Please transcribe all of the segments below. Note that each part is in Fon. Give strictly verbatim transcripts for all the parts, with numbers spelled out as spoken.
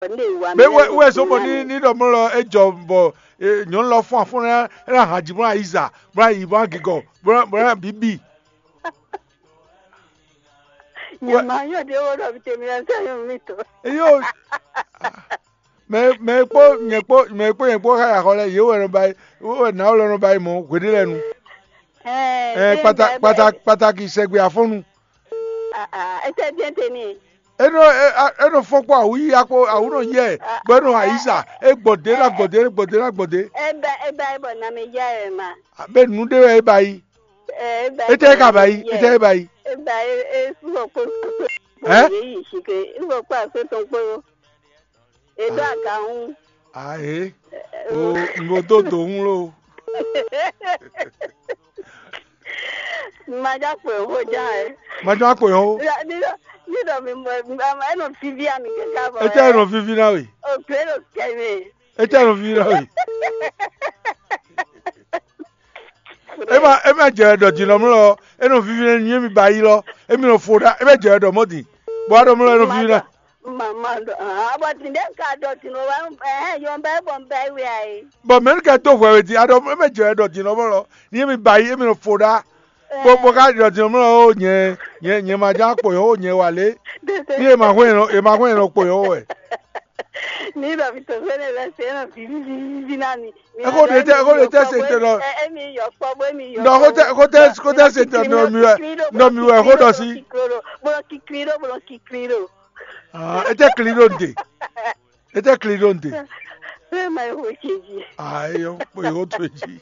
Mɛ wɛ wɛ zɔn bɔ ní ní ɖɔ mlɔ lɔ é jɔ bɔ nyɔ̌nu lɔ fún afún ná é ná hǎn jí bó ná yi zǎ bó ná yi bó ná gigɔ bó ná bó ná bǐ bǐ. Nyɛ ma nyɔ ɖé wó ɖɔ tèmi lɛ sɛ nyɔ mi tɔ. Eyo, mɛ mɛ kpó nyɛ kpó mɛ kpó nyɛ kpó xa ya xɔ lɛ yě wɛ nɔ ba yi wɛ nǎ wɛ lɔ nɔ ba yi mɔ hweɖé lɛ nu. Ɛ kpata kpata kpataki sɛgbe afɔnu. Ete bien teni. Enɔ enɔ fɔn kpɔ awu yi akpo awu nɔ yɛ bɔ enɔ ayiza e gbɔdɛ na gbɔdɛ gbɔdɛ na gbɔdɛ. Eba eba ebɔ na me ya ɛ ma. Be nu ɖe wɛ e ba yi. Eba etɛ e ka ba yi etɛ e ba yi. Eba e e sukɔ kpo. Ɛ? Ye yi si ke sukɔ kpo aso tɔn kpo. E do aga ŋu. Ahe. O n bo do do ŋu lo. Madza kpɔn xó dza ɛ. Madza kpɔn xó. Nídɔ mi mɔ ɛ nɔ vivi ami kaka bɔ. Etsɛ nɔ vivi na we. O gbé ɖo kɛ mi. Etsɛ nɔ vivi na we. Ema ema jɛ ɖɔ dzi nɔ mlɔ ɔ, enɔ vivi nɛ nyuie mi ba yi lɔ, emi nɔ fo ɖa, ema jɛ ɖɔ mɔ din, bɔ aɖɔ mlɔ enɔ vivi nɛ. Mama ɖɔ ah bɔ ti ɖe ka ɖɔ ti nɔ wa ɛhɛn yɔn bɛ bɔ n bɛ wi ayi. Bɔn mɛ nu kɛ do hwɛ we di aɖɔ ema jɛ ɖɔ dzi nɔ mlɔ, ni emi ba yi emi nɔ fo ɖa, bɔ bɔ ka ɖɔ dzi nɔ mlɔ o nyɛ nyɛ nyɛ ma ja kpɔ yɔ o nyɛ wa lé, ni ema hwɛ yɛn nɔ ema hwɛ yɛn nɔ kpɔ yɔ o wɛ. Ní ɖɔ mi tɔn fɛnɛ lɛ sɛ nɔ vivi vivi na mi. Exo ɖe tɛ exo ɖe tɛ se tɛ nɔ. Emi yɔ kpɔ bɔ emi yɔ. Nɔ xo tɛ xo tɛ xo tɛ se tɛ nɔ mi wɛ nɔ mi wɛ xo ɖɔ si. Bolo kikli ɖo bolo kikli ɖo. Ah, ete kli ɖo nde. Ete kli ɖo nde. Fɛn ma yi xo ce ji. Ah, eyɔ kpo yi xo to ji.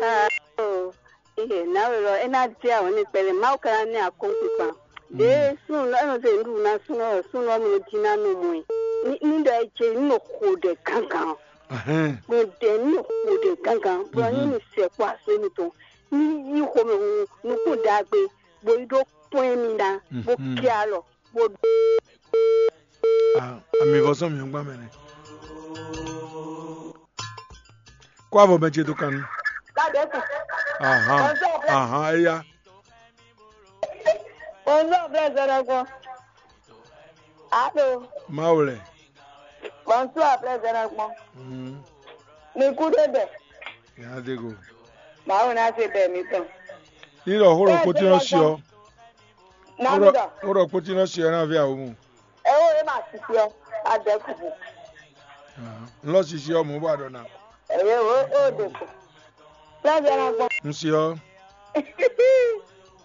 Aa oo, ee, nǎwe lɔ é ná jɛ awɔ̌ n'i kpɛɖé, Mawu ka ná ní akɔ́nkpinkpan. Ɖěe súnnu lɔ é nɔ zé nǔɖuɖu ná súnnu ɔ́, súnnu ɔ́ mɔ jí ná nɔ mɔ ɛ. Ní ní ɖɔ é jɛ ní nɔ xo ɖɛ gángan. Nɔ ɖɛ ní nɔ xo ɖɛ gángan, bɔ ní ní sɛ kpó asó mitɔn. Ní yí xomɛ nukún ɖagbe, bó yi ɖó kpɔ́n émí ná, bó kɛ alɔ, bó ɖó. Ami vɔ sɔn mi gbá mɛ nɛ. Kó avɔ mɛ ce dó kan nú. Ahan, ahan, eya. Bonjour, frère Zɔnɔgbɔn. Allô. Mawu lɛ. Bonsoir, frère Zɔnɔgbɔn. Mm. Mi kú dé bɛ. Nya dé go. Mawu ná ṣe bɛ mi tɔn. Ní lɔ xó ɖɔ kpótí nɔ si ɔ. Ná mi dɔ. Xó ɖɔ kpótí nɔ si ɔ ná ví awo mu. Ẹ wo e ma sisi ɔ, a dɛ kuku. N lɔ sisi ɔ mɔ bɔ a ɖɔ na. Ẹ ye wo o de ko. Lɛzɛ na gbɔn. N si ɔ.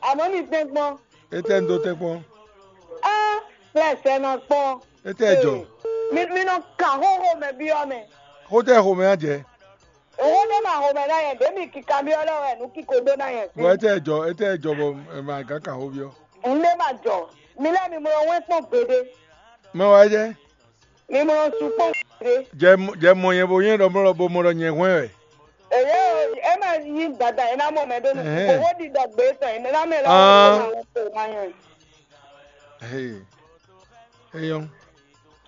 Àmọ́ mi tẹ́ gbọ́n. E tɛ n do tɛ kpɔn. Ẹ lẹsẹ na gbɔn. E tɛ jɔ. Mi mi nɔ kan xóxó mɛ byɔ́ mɛ. Xó tɛ xó mɛ a jɛ. Owó ló máa ho mɛ náà yẹn, bẹ́ẹ̀ mi kíkà bí ọlọ́wọ́ ẹ̀ nú kíkó dó náà yẹn sí. Bɔ e tɛ jɔ e tɛ jɔ bɔ ɛ ma gán kan xó byɔ́. N lé ma jɔ, mi lɛ́ mi mlɔ wɛn kpɔn gbeɖé. Mɛ wa jɛ. Mi mlɔ su kpɔn gbeɖé. Jɛ mɔ- jɛ mɔ nyɛ bo nyɛ ɖɔ mlɔ bo mɔ ɖɔ nyɛ hwɛn wɛ. Èyí ẹ máa yí gbàdá yẹn náà mọ̀ mẹ́dọ́ nù. Ẹ̀hẹ́n. Owó dídọ̀ gbé tán yẹn náà mẹ́rin Ah. Láwọn tó máa ń tó máa yàn. Hey. Eyɔn.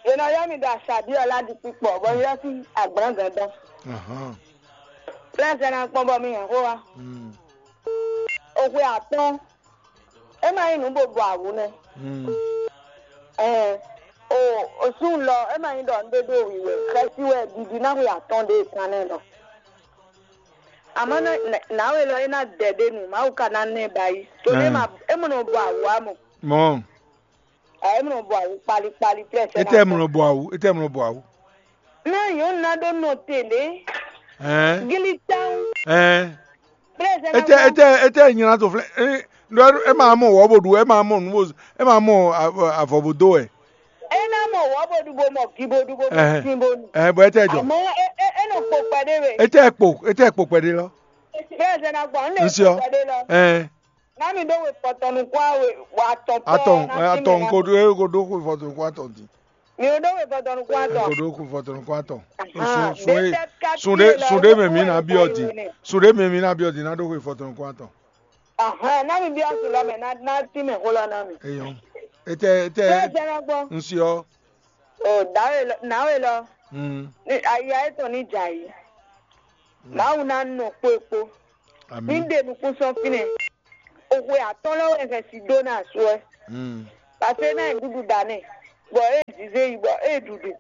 Yẹn náà yá mi da àṣàbí ọ̀la di pípọ̀ bọ́ yọ sí àgbọ̀n gàdán. Ahan. Fúlẹ́ǹsì náà pọ́n bọ́ mi yàn kó wa. Mm. Òwe àtọ́n. É máa nyí nǔ bó bu awǔ nɛ́. Mm. Ɛɛ, o o súnnu lɔ é máa nyí ɖɔ un ɖé ɖó wǐwɛ xɛsi wɛ ɖiɖi ná xwe atɔn ɖe kan nɛ́ lɔ. Àmọ́ nǎwe lɔ é ná dɛ ɖé nu, Mawu ka ná nɛ ba yi. Tó ní é ma é mɔ nɔ bu awǔ amɔ. Mɔ. Ɛ é mɔ nɔ bu awǔ kpali kpali plɛ́ sɛ. Étɛ́ mɔ nɔ bu awǔ, étɛ́ mɔ nɔ bu awǔ. Ná nyɔ̌nu ná ɖó nɔ te lě. Ɛɛ. Gili tán. Ɛɛ. Plɛ́ sɛ ná Étɛ́ gbɔn. Étɛ́ étɛ́ nyina to flɛ́ é ɖɔ é ma mɔ wɔ bo ɖu, é ma mɔ nǔ bo é ma mɔ avɔ bo dó wɛ. É ná mɔ wɔ bo ɖu bo mɔ gi bo ɖu bo mɔ Ɛhɛn. Sin bo nu. Ɛhɛn, bɔ étɛ́ jɔ. Àmọ́ é é é nɔ kpo kpɛɖé we. Étɛ́ kpo étɛ́ kpo kpɛɖé lɔ. Plɛ́ sɛ ná gbɔn, un lè N siɔ. Kpo kpɛɖé lɔ. Ɛɛ. Ná mi ɖó we fɔtɔnukún awe atɔn pɛ Atɔn ná sí mi atɔn ná ko mi. Ɖó ko ɖó xwe fɔtɔn ko atɔn din. Mi ò ɖó we fɔtɔnukún atɔn. Ko ɖó xwe fɔtɔn ko atɔn. Ahan, Sun sun ɖe sun ɖe sun ɖe mɛ mi na biɔ din. Sun ɖe mɛ mi na biɔ din na ɖó xwe fɔtɔn ko atɔn. Ahan, ná mi biɔ sun lɔ mɛ ná ná tí mɛ xó lɔ ná mi. Eyɔn. Etɛ etɛ Ṣé ẹ jẹ́ ná gbọ́? N siɔ. O dǎwe lɔ náwe lɔ. Mm. Ní aya étɔn ní dza yìí. Mawu ná nɔ kpó e kpó. Ní Ami. Ɖe nukún sɔn fínɛ. Oxwe atɔ́n lɔ wɛ hɛn si dó ná asu ɛ. Mm. Pase ná yi ɖuɖu da nɛ. Bɔ é zize yi bɔ é ɖuɖu.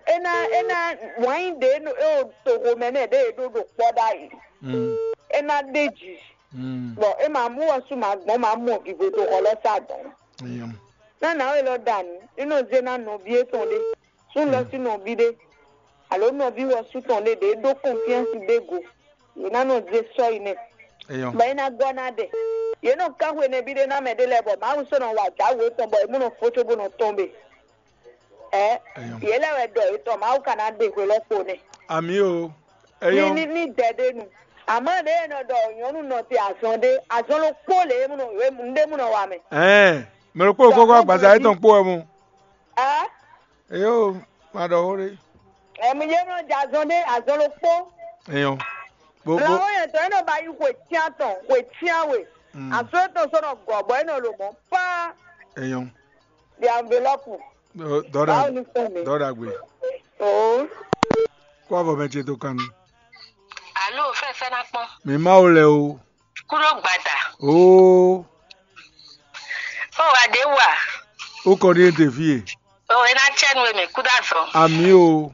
É ná é ná wǎn nyi ɖě e toxo mɛ nɛ ɖě e ɖó ɖo kpɔ́ ɖ'ayǐ. É ná ɖe ji. Bɔ é ma mú wɔ sú ma gbɔn ma mɔ vivo to xɔ lɔ sa dɔn. Ná nǎwe lɔ ɖa nǔ, é nɔ zé ná nɔví étɔn ɖé, sú lɔ sín nɔví ɖé, alo nɔví wɔ sú tɔn ɖé ɖě ɖó kɔnfiansi ɖé go. Yě ná nɔ zé sɔ́ yi nɛ. Bɔ é ná gɔ́ ná ɖɛ. Yě nɔ kán hwenɛ́ví ɖé ná mɛ ɖé lɛ́ɛ bɔ Mawu sɔ́ nɔ wa jǎwe tɔn bɔ é mɔ nɔ fó cóbó nɔ tɔ́n be. Ɛ yě lɛ́ wɛ ɖɔ yětɔn Mawu ka ná ɖe hwe lɔ kpo nɛ. Ami o. Ní ní ní dɛ ɖé nu. Àmọ́ ɖě e nɔ ɖɔ nyɔ̌nu nɔ te azɔn ɖé, azɔn ló kpó lě e nɖé mú nɔ wa mɛ. Ɛn, mɛ ɖokpó ɖokpó kɔ́ agbaza yětɔn kpó wɛ mu. Ɛ Eyo, ma ɖɔ xó ɖé. Ɛmú yé nɔ jɛ azɔn ɖé, azɔn ló kpó. Eyɔn. Bó bó. Lɔwọ́ yẹn tɔ é nɔ ba yi xwe tían tɔn, xwe tían we. Mm. Aso etɔn sɔ́ nɔ gɔ̌ bɔ é nɔ lo mɔ̌ paa. Eyɔn. Di anvelɔpu. Dɔda. Báwo ni fún mi? Dɔda gbe. Oo. Kó avɔ mɛ ce tó kan mi. Alo, fɛfɛ na kpɔn. Mi ma wo lɛ o. Kúɖó gbada. Oo. Ó wá ɖě wú a? Ó kɔ ní ètè fí e. Ó é ná cɛ́ nú we mɛ kúɖó azɔn. Àmì o.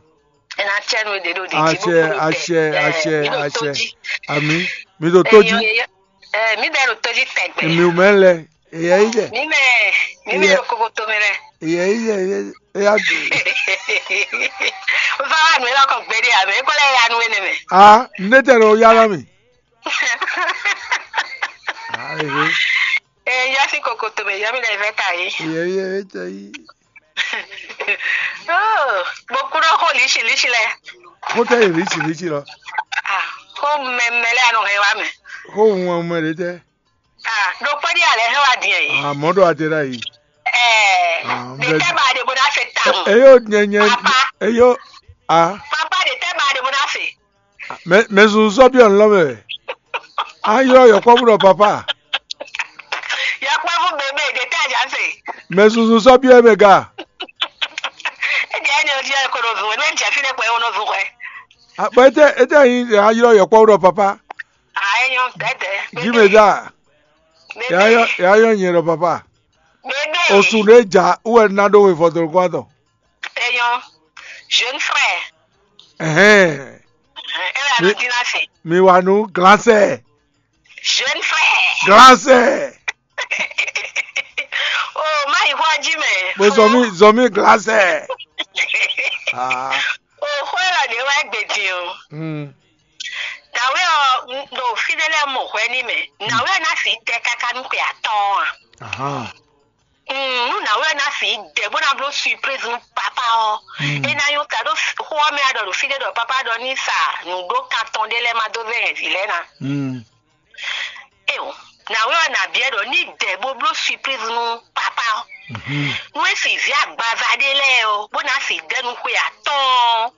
É ná cɛ́ nú we ɖě ɖo ɖě jí. Àṣẹ, àṣẹ, àṣẹ, àṣẹ. Àmì. Mi ɖo tó jí. Ɛ mi ɖɛ ɖo tó jí tɛgbɛ. Mi ò mɛ lɛ. Èyɛ yí jɛ. Mi mɛ mi mɛ ɖo kokoto mi lɛ. Èyɛ yí jɛ. Èyɛ yá dé. Ó fẹ́ wá nù é lọ́kọ̀ gbédè àmì é kọ́ lẹ́ ya nù é nɛ mɛ. A ne tɛ lɔ yára mi. Ee, yɔ sí kokoto mɛ yɔ mi lɛ vɛ ta yi. Yɛ yɛ vɛ ta yi. Mo kúrò kó lísì lísì lɛ. Kó tɛ yi lísì lísì lɔ. Kó mɛmɛ lɛ anɔ hɛn wa mɛ. Kó hun ọmọ rẹ tẹ. Ɖo kpɔ́ ɖi alɛ hɛn wa diɛ yi. Àmọ́ ɖo àti rà yìí. Ɛɛ, de tɛ ba de bo na se tamu. Eyo nyɛnyɛ. Papa. Eyo. Ah. Papa de tɛ ba de bo na se. Mɛ mɛ sunsun sɔ bi ɔn lɔ mɛ. An ylɔ yɔkpɔ́vú ɖɔ papa. Yɔkpɔ́vú bébé de tɛ aja se. Mɛ sunsun sɔ bi ɛ mɛ ga. Edi ɛni odi ɛ kono vun ɛni ɛni jɛ fi ne kpɛ wono vun kɔɛ. Akpɛ etɛ etɛ yi an ylɔ yɔkpɔ́vú ɖɔ papa. Ayɔ dɛdɛ. Jimeza. Bébé. Yayɔ yayɔ nyɛ ɖɔ papa. Bébé. Osu ɖe ja wɛ na ɖo we fɔtɔn kɔ atɔ. Eyɔn, jeune frère. Ɛhɛn. Ɛ wɛ a nɔ dín ná se. Mi wà nù glansɛ. Jeune frère. Glansɛ. O má yi xɔ jí mɛ. Mo zɔmi zɔmi glansɛ. Ah. O xɔ yɛ lɔ de wá gbè dín o. Hmm. Dàwé ɔ ɖo fídélé mɔ hwɛ ní mɛ. Nàwé ná fi tɛ káká nú pé atɔn a. Ahan. Mm, nú nǎwe ɔ́ ná fi dɛ bó ná bló surprise nú papá ɔ́, é ná nyɔ́ ta ɖó xó ɔ́ mɛ wá ɖɔ ɖo fí ɖé ɖɔ papá ɖɔ ní sa nǔɖó kan tɔn ɖé lɛ́ɛ ma dó vɛ́ hɛn vǐ lɛ́ɛ ná. Éwo, nǎwe ɔ́ ná biɛ ɖɔ ní dɛ bó bló surprise nú papá ɔ́. Nú é fi vǐ agbaza ɖé lɛ́ɛ ɔ́, bó ná fi dɛ nú xwe atɔ́ɔ́n,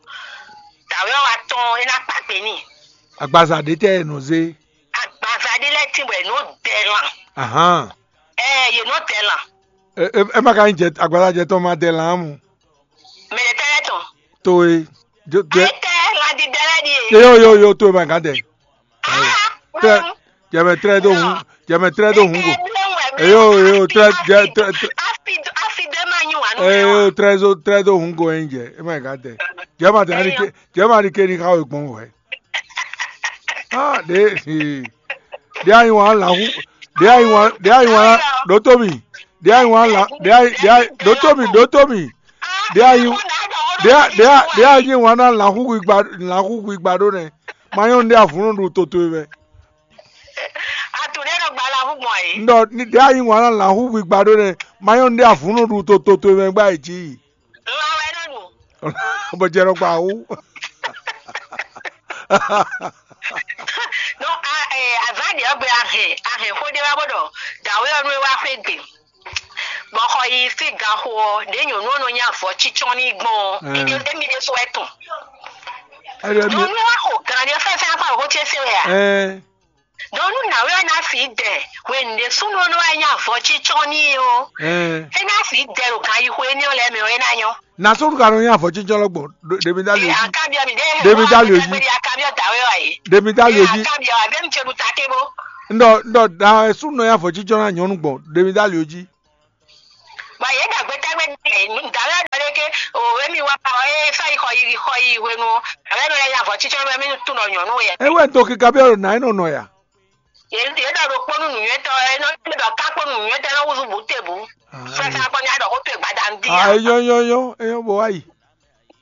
dǎwe ɔ́ wá tɔ́n é ná kpa kpe n'i. Agbaza ɖé tɛ è nɔ zé? Agbaza ɖé lɛ́ɛ tín bɔ è nɔ dɛ lan. Ahán. Ɛɛ, yě nɔ dɛ lan. Ɛ ɛ ɛ má ka nyí jɛ agbaza jɛ tɔn ma dɛ lan mu. Mɛ ɖe tɛ lɛ tɔn. To e. Jo jɛ. Ayi tɛ lan di dɛ lɛ di e. Yo yo yo to e ma ka dɛ. Aa. Tɛ jɛmɛ trɛ do hun jɛmɛ trɛ do hun go. Eyo eyo trɛ jɛ trɛ trɛ. Afi afi de ma nyi wa nɔ. Eyo trɛ zo trɛ do hun go e nyí jɛ e ma ka dɛ. Jɛma tɛ ani ke jɛma ani ke ni ka wo gbɔn wɛ. Ah, ɖe ɖe ayi wan la hu ɖe ayi wan ɖe ayi wan ɖo to mi ɖe ayi wan la ɖe ayi ɖe ayi ɖo to mi ɖo to mi ɖe ayi ɖe ayi ɖe ayi wan na la hu gba la hu gba ɖo nɛ ma nyɔ ɖe avunu ɖu toto yi mɛ. Atu ɖe ɖo gba la hu gbɔn yi. Ndɔ ɖe ayi wan na la hu gba ɖo nɛ ma nyɔ ɖe avunu ɖu toto yi mɛ gba yi ji. Lan wɛ nɔ nu. Bɔ jɛ nɔ gba wu. No a ɛ azan deɛ ɔgbe ahɛn ahɛn xo de wa bɔ dɔ dawe ɔnu e wa xwe gbe. Bɔ xɔ yi fi gan xo ɔ de nyɔnu ɔnu nya vɔ tsitsɔn ni gbɔn ɔ emi de so ɛtun. Nyɔnu wa xo gan de fɛn fɛn akpa xo tse se wɛ a. Dɔnku nú nǎwe ɔ́ ná fi dɛ hwenu ɖé súnnu ɔ́ nɔ wá nyí avɔcícɔ́ n'i é ó, é ná fi dɛ ɖo gan yi xwe énɛ́ ɔ́ lɛ́ɛ mɛ ɔ́, é ná nyɔ́. Nasúnu ka nɔ nyí avɔcícɔ́ lɔ gbɔn ɖe mi dá lě jí. Ɖe mi dá lě jí. Ɖe mi dá lě jí. Ndɔ ndɔ da súnnu nɔ nyí avɔcícɔ́ ná nyɔ́nu gbɔn ɖe mi dá lě jí. Bɔ yě ɖagbe tɛgbɛ ɖe dǎwe ɖɔ ɖé ké o, émi wá ɔ é sɔ́ yi xɔ yi xɔ yi hwenu ɔ, dǎwe nɔ lɛ́ nya avɔ cícɔ́ mɛ mí tunɔ nyɔ̌nu yɛ. É wɛ do kíka bí ɔ́ ɖo nǎ é nɔ nɔ ya. Yě yě ɖɔ ɖokpó nú nǔnywɛ́tɔ́ ɛ nɔ ɖɔ ká kpó nú nǔnywɛ́tɔ́ ɛ nɔ wúzú bǔ te bǔ. Fɛ́sá gbɔn ní a ɖɔ xó towe gbada ń dín. Ah, eyɔ́ yɔ́ yɔ́ eyɔ́ bɔ wá yi.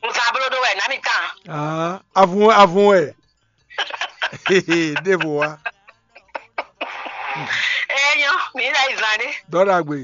Nzablo ɖó wɛ nǎ mi tán. Ah, avun avun wɛ. Ɖěvo wá. Eyɔ́ mi lɛ yi zan ɖé. Dɔ́ ɖagbe.